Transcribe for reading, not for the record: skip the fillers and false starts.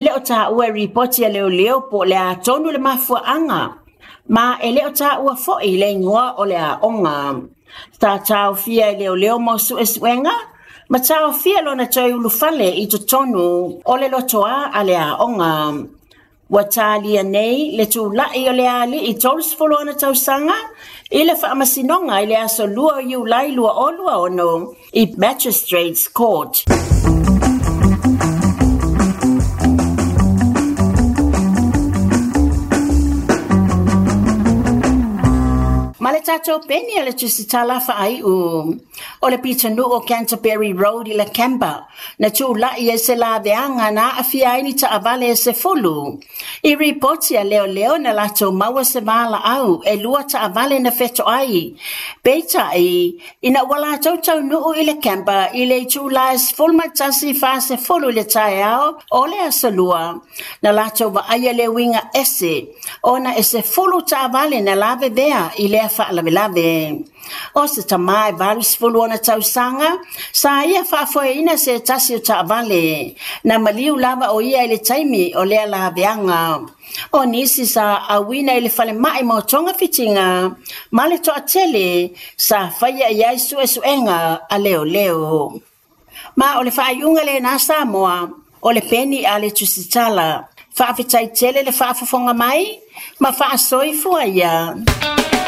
le o taua e ripoti a leoleo po o le a tonu le mafuaaga, ma e le o taua foi le igoa o le aoga. Sa taofia e leoleo mo suesuega ma taofia lona toe ulufale i totonu o le lotoa a le aoga. Ua talia nei le tulai o le alii 30 ona tausaga i le faamasinoga i le aso 2 o Iulai 2026 i Magistrates Court. Ma le tatou peni a le tusitala faaiu o le pitonuu o Canterbury Road i Lakemba na tulai ai se laveaga na aafia ai ni taavale e 10. I ripoti a leoleo na latou maua se valaau e 2 taavale na fetoai. Peitai, ina ua latou taunuu i Lakemba i le itula e 11:40 i le taeao o le Aso Lua, na latou vaaia le uiga ese ona e 10 taavale na lavevea i lea faalavelave. O se tamā e 80 ona tausaga, sa ia faafoeina se tasi o taavale, na maliu lava o ia i le taimi o lea laveaga. O nisi sa auina i le falemai mo togafitiga ma le toatele sa faia i ai suesuega a leoleo. Ma o le faaiuga lena Samoa, o le peni a le tusitala. Faafetai tele le faafofoga mai ma faasoifua ia.